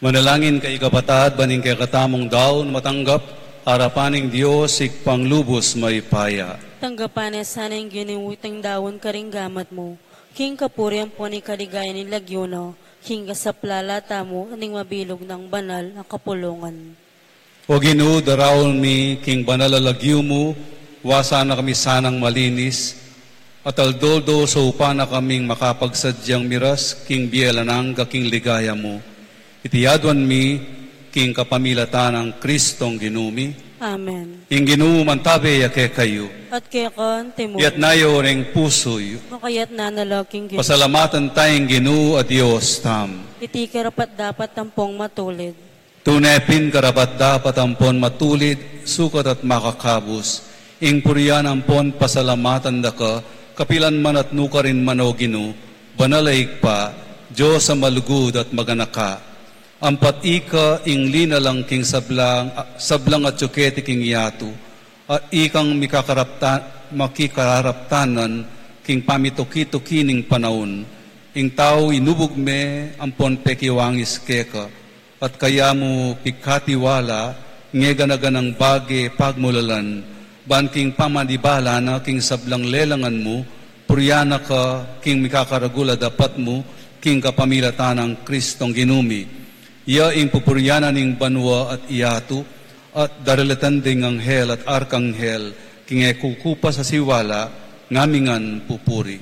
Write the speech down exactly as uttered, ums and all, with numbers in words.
Manalangin kayu, kapatad, ban ing kekatamung daun matanggap arapan ning Dios, Ibpang lubus mayupaya. Tanggapan na sana ning Ginu iting daun karing gamat mu, king kapurian ampon king kaligayan ning lagyu na, king kasaplalan tamu at ning mabilug nang banal a kapulungan. O Ginu, daraun mi king banal a lagyu mu, wasan na kami sanang malinis, at aldo-aldo saupan na kaming makapagsadyang miras king bie alang angga king ligaya mu. Iti aduan mi king kapamilatan nang Kristong Ginu mi. Amen. Ing Ginu mantabe ya kekayu. At keka antimu rin. Iyatas yu ring pusu yu. Makayatas na la king Ginu. Pasalamatan taya ing Ginu a Dios tamu. Iti karapat-dapat ampon matulid. Tune pin karapat-dapat ampon matulid, sukat at makakabus, ing purian ampon pasalamatan da ka, kapilan man at nukarin man, o Ginu, banal a Ibpa, Dios a malugud at maganaka. Ampat ika ing linalang king sablang, sablang atyu keti king yatu, at ikang mikakarapta-, makikararaptanan king pamituki-tuki ning panaun. Ing tau inubug me ampon pekiwangis keka, at kaya mu pikatiwala, ngegan-aganang bage pagmulalan, ban king pamanibala na king sablang lelangan mu, purian na ka king mikakaragul a dapat mu, king kapamilatan nang Kristong Ginu mi. Iya ing pupurian na ning banua at yatu, at daralitan ding anghel at arkanghel, king e kukupas a siwala, ngamingan pupuri.